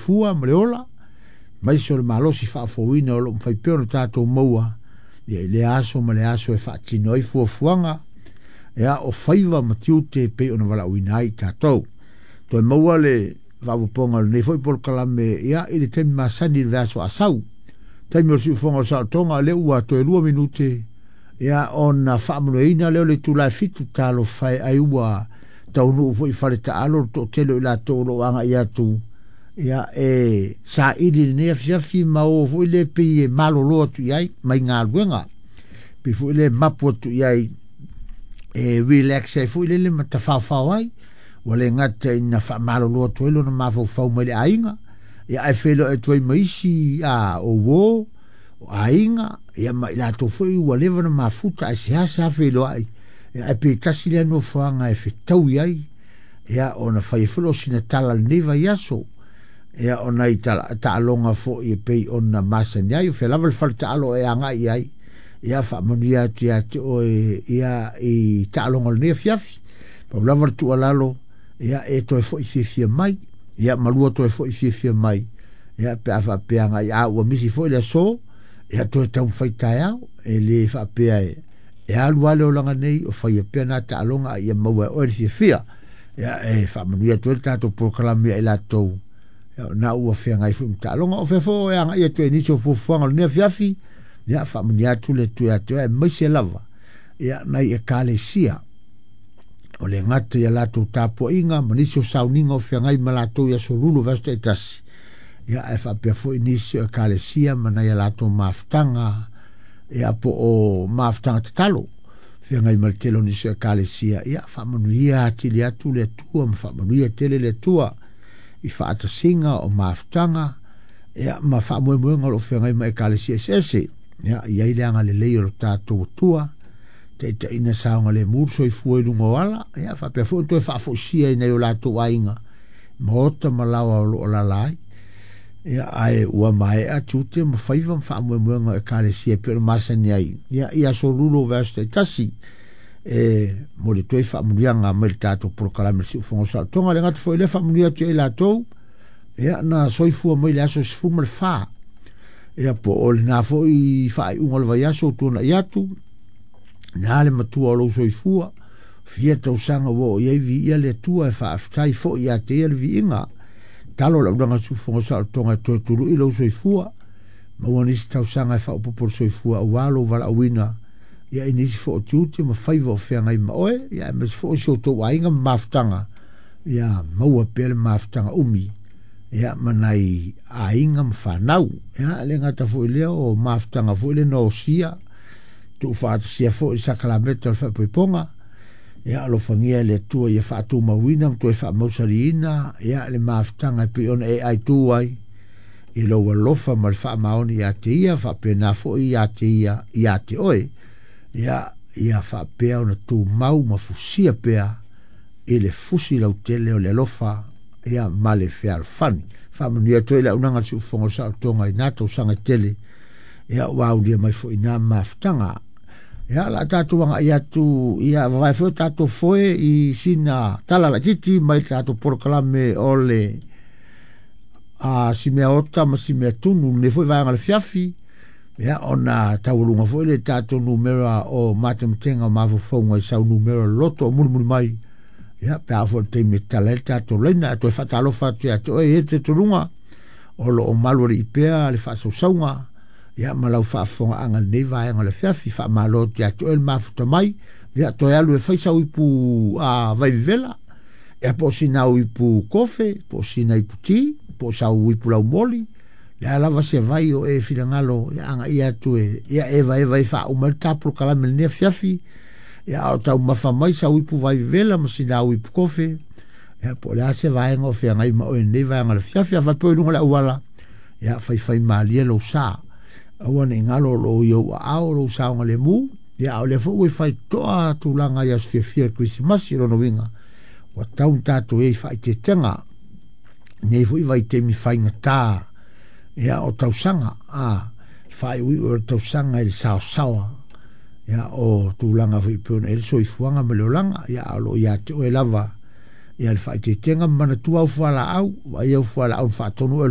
soifua ma le ola, aemaise o le malosi faafouina o lo o mafai pea ona tatou maua ia i lea aso ma le aso e faatino ai fuafuaga ia o faiva ma tiute e pei ona valaauina ai i tatou. Toe maua le faaopoopoga o lenei foi polokalame ia i le taimi masani i le vaiaso a sau. Taimi o le siufofoga o le saolotoga, o lea ua toe 2 minute ia ona faamanuiaina lea o le itula e 7. Talofa e, ai ua taunuu foi i fale taalo le toatele o i latou o lo o agai atu ia e saili lenei afiafi ma o foi le pei e malolo atu i ai mai galuega, pei foi le mapu atu i ai e relax ai foi lele ma tafaofao ai, ua le gata ina faamalolo atu ai lona mafaufau mai le aiga, ia ae feiloai atu ai ma isi a o uo o aiga ia ma i latou foi ua leva ona mafuta ae seasea feiloai, ia ae pei tasi lea nofoaga e fetaui ai ia ona fai ai foi lea o sina tala i lenei vaiaso ia ona i taaloga foi e pei ona masani ai o fea lava le fale taalo e agai i ai ia faamanuia atu ia te oe ia i taaloga o lenei afiafi. Pau lava le tuualalo ia e toe foi fiafia mai ia malua toe foi fiafia mai ia pe a faapea agai a ua misi foi le aso ia toe taumafai taeao e le faapea e alu lava le olaga nei o faia pea na taaloga a ia maua e oe le fiafia. Ia e faamanuia atu ai le tatou polokalame ia i latou ia na ua feagai foi ma taaloga o fea foi e agai atu ai nisi o fuafuaga o lenei afiafi ia faamanuia atu le Atua ia te oe aemaise lava ia nai ekalesia o le gata ia latou tapuaiga ma nisi o sauniga o feagai ma latou i aso lulu vaiaso taitasi ia ae faapea foi nisi o ekalesia ma nai a latou mafutaga ia po o mafutaga tatalo feagai ma le tele o nisi o ekalesia ia faamanuia atili atu le Atua ma faamanuia tele le Atua i faatasiga o mafutaga ia ma faamoemoega o lo o feagai ma ekalesia eseese ia i ai le agalelei o lo tatou Atua taitaiina saogalemu le soifua i luga o ala ia faapea foi ona toe faafoisia i nai o latou aiga maota ma laoa o lo o alaala ai ia ae ua maea tiute ma faiva ma faamoemoega o ekalesia e pei ona masani ai ia i aso lulo o vaiaso taitasi e momoli atu ai faamanuiaga mai le tatou polokalame le Siufofoga o Saolotoga. Le gata foi lea faamanuia atu i latou ia na soifua mai le aso 14 ia po o lena foi faaiuga o le vaiaso ua tuanai atu na le matua o lou soifua fia tausaga ua oo i ai viia le Atua e faafetai foi ia te ia le viiga talo le aulaga siufofoga o saolotoga e toe tului lou soifua maua nisi tausaga e faaopoopo le soifua aua lou valaauina ia i nisi foi o tiute ma faiva o feagai ma oe ia aemaise foi o si outou aiga ma mafutaga ia maua pea le mafutaga umi ia ma nai aiga ma fanau ia le gata foi lea o mafutaga foi le nosia tuufaatasia foi le sakalameta o le faaipoipoga ia alofagia e le Atua ia faatumauina ma toe faamausaliina ia le mafutaga e pei ona e aitu ai i lou alofa ma le faamaoni ia te ia faapena foi ia te ia ia te oe ia ia faapea ona tumau ma fusia pea i le fusi lautele o le alofa ia ma le fealofani. Faamanuia atu ai le auaunaga a le Siufofoga o le Saolotoga i na tausaga e tele ia ua aulia mai foi na mafutaga. Ia la tatou agai atu ia vavae foi tatou foe i sina tala laitiiti mai le tatou polokalame o le a si mea ota ma si mea tunu lenei foi vaega o le afiafi ia ona taualuga foi le tatou numera o matematega o mafaufauga i sau numera loto o mulimuli mai ia pe a oo foi i le taimi e tatala ai le tatou laina. Ae toe faatalofa atu ia te oe e te toluga o lo o malualii pea le faasausauga ia ma lau faafofogaaga i lenei vaega o le afiafi. Faamalo atu ia te oe le mafuta mai ia toe alu e fai sau ipu a vaivevela ia po o sina au ipu kofe po o sina ipu ti po o sau ipu laumoli le a lava se vai o e finagalo ia agaia atu e ia evaeva e faauma ai le ta polokalame i lenei afiafi ia o taumafa mai sau ipu vaivevela ma sina au ipu kofe ia po o le a se vaega o feagai ma oe i lenei vaega o le afiafi. A faapea i luga o le auala ia faifai malie lou sa aua ne i galo o lo o i ou aao lou saogalemu ia a o lea foi ua i faitotoa tulaga i aso fiafia o le Kerisimasi. O lona uiga ua tatau ona tatou i ai i faaeteetega nei foi vaitaimi faigata ia o tausaga a faaiuiu o le tausaga i le saosaoa ia o tulaga foi pei ona i ai le soifuaga ma le olaga ia a o lo o ia te oe lava ia le faaeteetega ma manatua au fualaau, vaai au fualaau na faatonu oe.